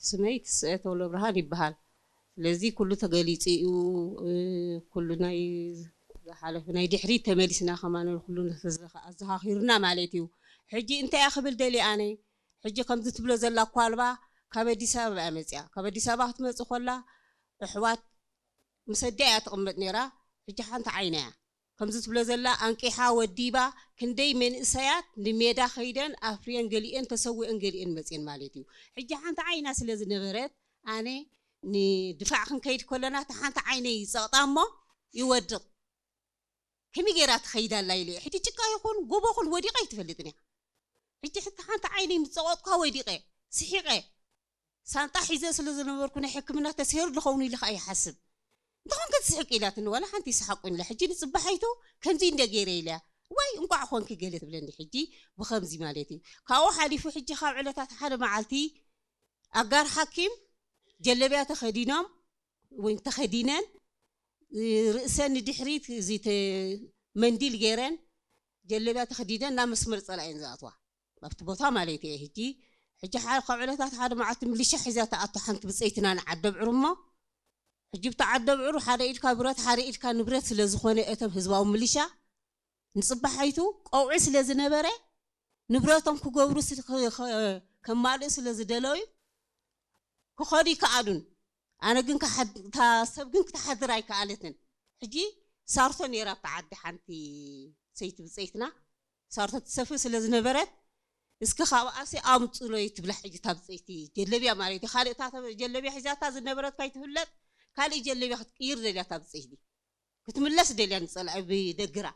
ስመይ ትስኤ ተውለብርሃን ይበሃል። ስለዚ ኩሉ ተገሊጹ እዩ። እ፣ ኩሉ ናይ ዝሓለፈ ናይ ድሕሪት ተመሊስና ከማን ኩሉ ኣዘኻኺሩና ማለት እዩ። ሕጂ እንታይ እያ ክብል ደልየ ኣነ? ሕጂ ከምዚ ትብሎ ዘላ ኳልባ ካብ ኣዲስ ኣበባ እያ መጽያ። ካብ ኣዲስ ኣበባ ክትመጽእ ከላ ኣሕዋት ምስ ኣዲኣ እያ ትቕመጥ ነይራ። ሕጂ ሓንቲ ዓይና እያ። ከምዚ ትብሎ ዘላ ኣንቂሓ ወዲባ ክንደይ መንእሰያት ንሜዳ ከይደን ኣፍርየን ገሊኤን ተሰዊአን ገሊኤን መፅየን ማለት እዩ። ሕጂ ሓንቲ ዓይና ስለ ዝነበረት ኣነ ንድፋዕ ክንከይድ ከለና እታ ሓንቲ ዓይነይ ይፀቕጣ እሞ ይወድቕ። ከመይ ገይራ ትኸይድ ኣላ ኢለ ሕጂ ጭቃ ይኹን ጎቦ ይኹን ወዲቐ ኣይትፈልጥን እያ። ሕጂ ሕቲ ሓንቲ ዓይነይ ምስ ፀቐጥኳ ወዲቐ ስሒቐ ሳንጣ ሒዘ ስለ ዝነበርኩ ናይ ሕክምና ተስሄሩ ዝኸውን ኢለ ከዓ ይሓስብ። እንተኾን ክትስሕቅ ኢላትኒ ዋላ ሓንቲ ይስሓቁ ኢለ ሕጂ ንፅባሓይቱ ከምዚ እንደ ገይረ ኢለያ ዋይ እንቋዕ ኮንኪ ገለ ትብለኒ ሕጂ ብኸምዚ ማለት እዩ። ካብኡ ሓሊፉ ሕጂ ካብ ዕለታት ሓደ መዓልቲ ኣጋር ሓኪም ጀለብያ ተኸዲኖም ወይ ተኸዲነን ርእሰን ንድሕሪት እዚ ተ- መንዲል ገይረን ጀለብያ ተኸዲነን ናብ መስመር ፀላእየን ዝኣትዋ ኣብቲ ቦታ ማለት እየ። ሕጂ ሕጂ ሓደ ካብ ዕለታት ሓደ መዓልቲ ምልሻ ሒዛ ተኣቶ ሓንቲ ብፀይትና ንዓደብዕሩ እሞ ሕጂ ብቲ ዓደብዕሩ ሓደ ኢድካ ብረት ሓደ ኢድካ ንብረት ስለ ዝኾነ እቶም ህዝባዊ ምልሻ ንፅባሓይቱ ቀውዒ ስለ ዝነበረ ንብረቶም ክገብሩ ስል- ክ- ክ- ከማልኡ ስለ ዝደለዩ ክኸዱ ይከኣሉን። ኣነ ግን ክሓድ- እታ ሰብ ግን ክትሓድር ኣይከኣለትን። ሕጂ ሳርቶ ነይራ ኣብታ ዓዲ ሓንቲ ሰይቲ ብፀይትና ሳርቶ ትሰፍር ስለ ዝነበረት እስኪ ካብኣሲ ኣምፅሎይ ትብላ። ሕጂ እታ ብፀይቲ ጀለብያ ማለት እዩ ካልእ እታ ተ- ጀለብያ ሒዛታ ዝነበረት ካይትፍለጥ ካልእ ጀለብያ ክትቅይር ደልያ እታ ብፀይቲ ክትምለስ ደልያ ንፀላኢ ብደግራ።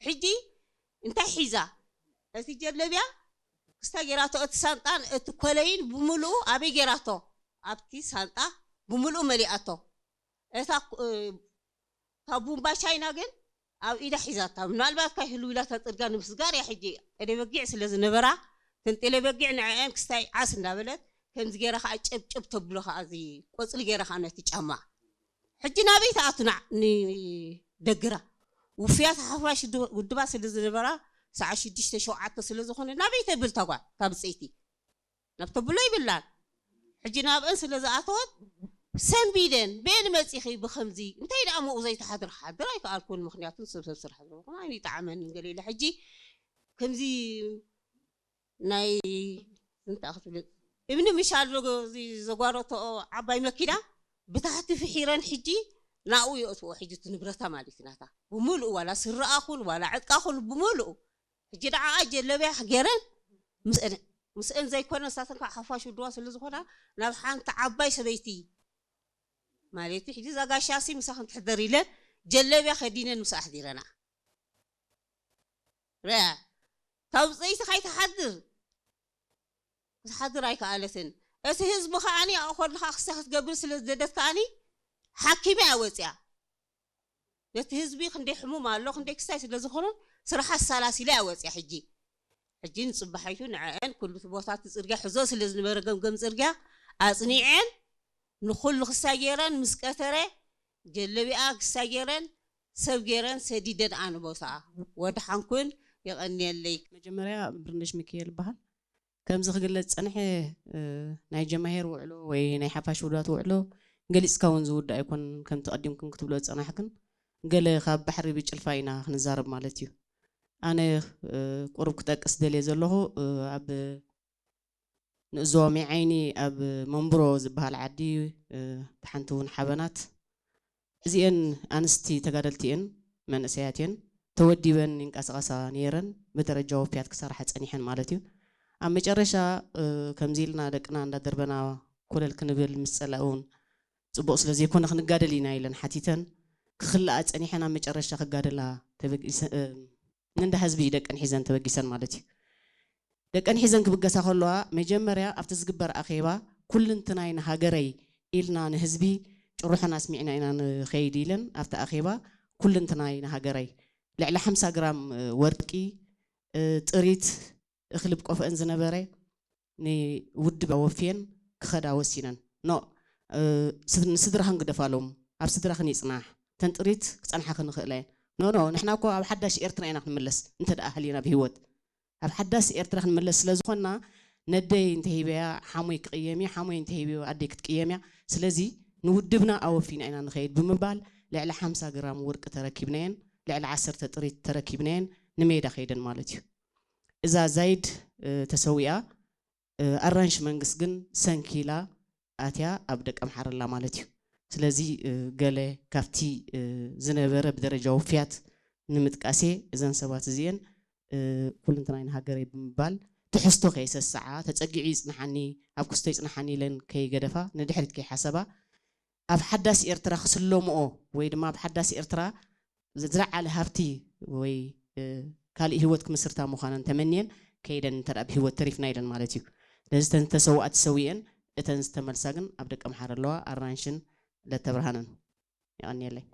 ሕጂ እንታይ ሒዛ እቲ ጀለብያ ክስታ ጌራቶ እቲ ሳንጣን እቲ ኮለይን ብምልኡ ኣበይ ጌራቶ ኣብቲ ሳንጣ ብምልኡ መሊኣቶ። እታ እ፣ እታ ቡምባ ቻይና ግን ኣብ ኢዳ ሒዛታ ምናልባት ካይ ህልው ኢላ እታ ፅርጋ ንምስጋር እያ። ሕጂ ጤለ በጊዕ ስለ ዝነበራ እተን ጤለ በጊዕ ንዐአን ክስታይ ዓስ እንዳበለት ከምዚ ገይራ ከዓ ጨብጨብ ተብሎ ከዓ እዚ ቆፅሊ ገይራ ከዓ ነቲ ጫማ ሕጂ ናበይ ትኣቱ ናዕ ንደግራ ውፍያት ሓፋሽ ድ- ውድባት ስለ ዝነበራ ሰዓት ሽዱሽተ ሸውዓተ ስለ ዝኾነ ናበይ ተብል እታ ጓል ካብ ብፀይቲ ናብ ተብሎ ይብላን። ሕጂ ናብአን ስለ ዝኣተወት ሰንቢደን በየን መፂኺ ብኸምዚ እንታይ ደኣ መኡ ዘይተሓድር ሓድር ኣይከኣልኩን። ምክንያቱ ሰብ ሰብ ስራሕ ዝረኹን ኣይጣዕመን ገለ ኢለ ሕጂ ከምዚ ናይ እንታይ ክትብል እምኒ ምሻል ዘጓረቶ ዓባይ መኪና ብታሕቲ ፍሒረን ሕጂ ናብኡ የእትዎ። ሕጂ እቲ ንብረታ ማለት እዩ ናታ ብምልኡ ዋላ ስረኣኹን ዋላ ዕጥቃኹን ብምልኡ ሕጂ ደዓኣ ጀለብያ ገይረን ምስአን ምስአን ዘይኮነ ንሳተን ከዓ ሓፋሽ ውድዋ ስለ ዝኾና ናብ ሓንቲ ዓባይ ሰበይቲ ማለት እዩ። ሕጂ እዛ ጋሻሲ ምሳኽን ትሕደር ኢለን ጀለብያ ከዲነን ምስ ኣሕዲረና ርኣ ካብ ፀይቲ ካይትሓድር ክትሓድር ኣይከኣለትን። እቲ ህዝቢ ከዓኒ ኣእኮድኻ ክሳ ክትገብር ስለ ዝደደት ከዓኒ ሓኪመ እያ ወፅያ። ነቲ ህዝቢ ክንደይ ሕሙም ኣሎ ክንደይ ክስታይ ስለ ዝኾነ ስራሓ ኣሳላሲላ እያ ወፅያ። ሕጂ ሕጂ ንፅባሓይቱ ንዐአን ኩሉ እቲ ቦታ እቲ ፅርግያ ሕዞ ስለ ዝነበረ ገምገም ፅርግያ ኣፅኒዐን ንኩሉ ክስታይ ገይረን ምስ ቀተረ ጀለቢኣ ክስታይ ገይረን ሰብ ገይረን ሰዲደን ኣነ ቦታኣ ወድሓንኩን የቐንየለይ። መጀመርያ ብርነሽ ሚካኤል ይበሃል። ከምዚ ክግለጽ ዝጸንሐ ናይ ጀማሄር ውዕሎ ወይ ናይ ሓፋሽ ውዳት ውዕሎ ገሊጽካ እውን ዝውዳእ ኣይኮን። ከምቲ ቀዲምክን ክትብሎ ዝጸናሕክን ገለ ካብ ባሕሪ ብጭልፋ ኢና ክንዛረብ ማለት እዩ። ኣነ ቁሩብ ክጠቅስ ደልየ ዘለኹ ኣብ ንእዞ ሜዓይኒ ኣብ መንብሮ ዝበሃል ዓዲ ሓንቲ እውን ሓበናት እዚኤን ኣንስቲ ተጋደልቲ እየን፣ መንእሰያት እየን፣ ተወዲበን ይንቀሳቐሳ ነይረን፣ ብደረጃ ወፍያት ክሰርሓ ጸኒሐን ማለት እዩ። ኣብ መጨረሻ ከምዚ ኢልና ደቅና እንዳደርበና ኮለል ክንብል ምስ ጸላኢ እውን ጽቡቕ ስለ ዘይኮነ ክንጋደል ኢና ኢለን ሓቲተን ክኽልኣ ጸኒሐን ኣብ መጨረሻ ክጋደላ ተበጊሰ- እ፣ ንእንዳ ህዝቢ ደቀን ሒዘን ተበጊሰን ማለት እዩ። ደቀን ሒዘን ክብገሳ ከለዋ መጀመርያ ኣብቲ ዝግበር ኣኼባ ኩልንትናይ ንሃገረይ ኢልና ንህዝቢ ጭርሖን ኣስሚዕና ኢና ንኸይድ ኢለን ኣብቲ ኣኼባ ኩልንትናይ ንሃገረይ ልዕሊ ሓምሳ ግራም ወርቂ ጥሪት እኽሊ ብቆፈአን ዝነበረ ንውድብ ኣወፍየን ክኸዳ ወሲነን ኖ ንስድራኽን ግደፋሎም ኣብ ስድራኽን ይፅናሕ ተን ጥሪት ክፀንሓ ክንኽእለ ኖ ኖ ንሕና እኮ ኣብ ሓዳሽ ኤርትራ ኢና ክንምለስ እንተ ደኣ ሃሊና ብህይወት ኣብ ሓዳስ ኤርትራ ክንምለስ ስለ ዝኾንና ነደይ እንተሂበያ ሓሞይ ክቕየም እየ፣ ሓሞይ እንተሂበዮ ኣደይ ክትቅየም እያ። ስለዚ ንውድብና ኣወፊና ኢና ንኸይድ ብምባል ልዕሊ ሓምሳ ግራም ወርቂ ተረኪብናየን፣ ልዕሊ ዓሰርተ ጥሪት ተረኪብናየን ንሜዳ ከይደን ማለት እዩ። እዛ ዛይድ ተሰዊኣ፣ ኣራንሽ መንግስት ግን ሰንኪላ ኣትያ ኣብ ደቀምሓረ ኣላ ማለት እዩ። ስለዚ ገለ ካብቲ ዝነበረ ብደረጃ ውፍያት ንምጥቃሴ፣ እዘን ሰባት እዚአን ኩልንትናይ ንሃገረይ ብምባል ትሕዝቶ ከይሰስዓ፣ ተጸጊዑ ይጽንሓኒ፣ ኣብ ክስቶ ይጽንሓኒ ኢለን ከይገደፋ፣ ንድሕሪት ከይሓሰባ፣ ኣብ ሓዳስ ኤርትራ ክስለምኦ ወይ ድማ ኣብ ሓዳስ ኤርትራ ዝለዓለ ሃብቲ ወይ ካልእ ህይወት ክምስርታ ምዃነን ተመንየን ከይደን እንተ ብህይወት ተሪፍና ኢለን ማለት እዩ። ስለዚ እተን ዝተሰውኣ ተሰዊአን፣ እተን ዝተመልሳ ግን ኣብ ደቀምሓረ ኣለዋ። ኣራንሽን ለተብርሃንን። የቐንየለይ።